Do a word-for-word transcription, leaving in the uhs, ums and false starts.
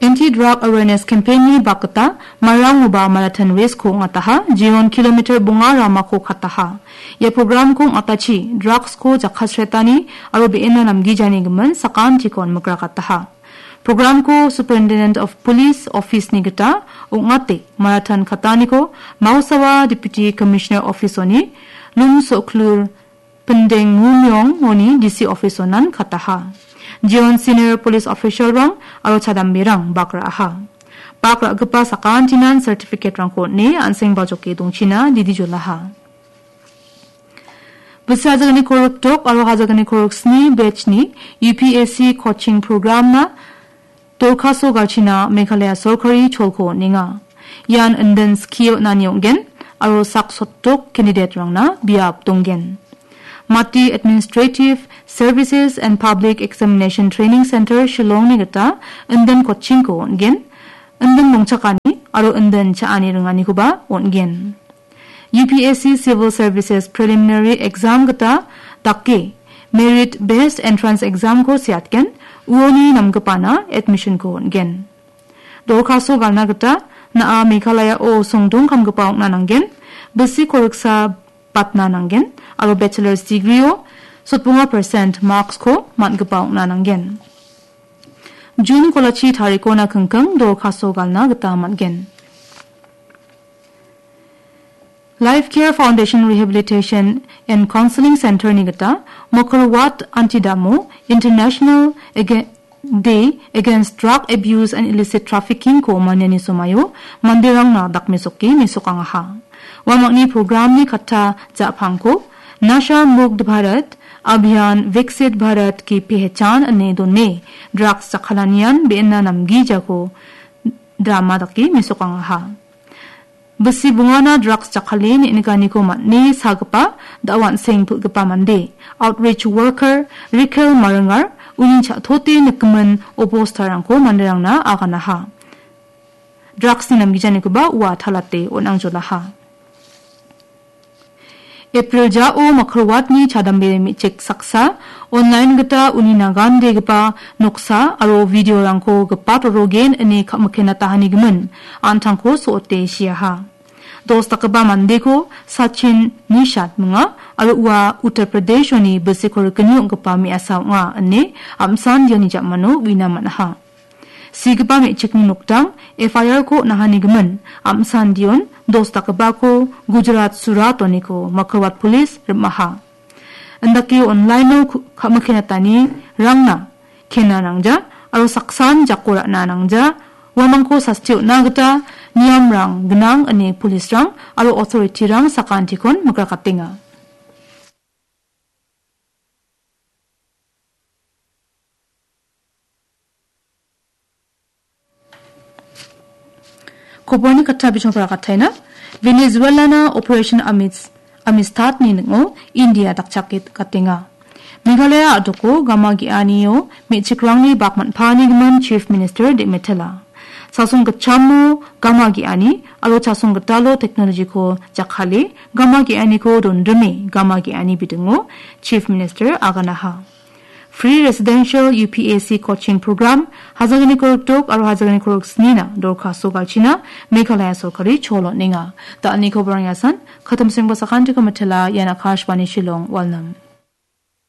Anti-drug awareness campaign-ni bakgita Marang-oba marathon race-ko ong·ataha, jeon kilometer bonga ramako kataha. Ia program-ko ong·atachi drugs-ko jakkalsretani aro be·ena namgijani gimin sakantikon mikrakataha. Program-ko Superintendent of Police Office-ni gita ong·ate marathon kataniko Mausawa Deputy Commissioner Office-oni Lum Soklur Pindeng Mumyong-oni D C Office-onan kataha. Jeon senior police official-rang aro chadamberang bak ra·aha. Bak ra·gipa sakantinan certificate-rangko on·e an·seng bajoke dongchina didi jolaha. Bisi hajagni korok dok aro hajagni korok sni batch-ni U P S C coaching program-na dorkaso galchina Meghalaya sorkari cholko on·enga. Ian indin skie on·ani ong·gen aro sak sotdok candidate-rangna biap donggen. Mati Administrative Services and Public Examination Training Center Shillong-ni gita indin coaching-ko on·gen, indin dongchakani aro indin cha·ani ringanikoba on·gen. U P S C Civil Services Preliminary Exam gita dake Merit Based Entrance Exam-ko seatgen, uoni namgipana admission-ko on·gen. Dorkaso galna gita na·a Meghalaya-o songdong kamgipa ong·na nanggen, bisi koriksa batna nanggen, aro bachelor's degree-o sotbonga percent marks-ko man·gipa ong·na nanggen. June kolachi tarikona kingking dorkaso galna gita man·gen. Life Care Foundation Rehabilitation and Counseling Center-ni gita Mokolwat Antidamo International Ag-, Day Against Drug Abuse and Illicit Trafficking-ko maniani somaio manderangna dakmesoke mesokangaha. Uamangni program-ni katta ja·pangko Nasha Mukt Bharat Abhiyan Viksit Bharat Ki Pehchan ine done, drugs jakkalanian be·ena namgijako drama dake mesokangaha. Bisi bongana drugs jakkale ne·nikaniko man·e sagipa da·o an·seng pil·gipa mande, outreach worker Rikel Maringar uni cha·tote nikgimin obostarangko manderangna aganaha. Drugs-ni namgijanikoba ua talate on·angjolaha. April jao Makarwatni chadambe me·chik saksa online gita uni nagandegipa noksa aro video-rangko gipat rorogen ine ka·mikenatahanigimin an·tangko so·ote siaha. Dos dakgipa mandeko Sachin Nishat minga aro ua Uttar Pradesh-oni bisiko rikni ong·gipa me·asa ong·a ine am·san iani ja·mano uina man·aha. Sigipa me·chikni nokdang F I R-ko on·ahanigimin, am·san Dion dos dakgipako Gujarat Surat oniko Makarwat Police rim·aha. Indake online-o ku-, ka·mikenatani rangna kena nangja aro saksan jako ra·na nangja, uamangko sasti on·na gita niamrang gnang ine police-rang aro authority-rang sakantikon mikrakatenga. Koborni katta bisong sarakathaina. Venezuelana Operation Amis-, Amistad-ni ning·o India dakchake gatenga. Meghalaya a·doko gama ge·anio me·chikrangni bak man·paanigimin Chief Minister de·metela. Chasong gitchamo gama ge·ani aro chasong gitalo technology-ko jakkale gama ge·aniko dondrime gama ge·ani bidingo Chief Minister aganaha. Free Residential U P S C Coaching Program, hajagni korokdok aro hajagni koroksnina dorkaso galchina Meghalaya sorkari chol on·enga. Da·alni koborang yasan, katam sengba sakantiko mitela, ian Akashvani Shillong, Walnam.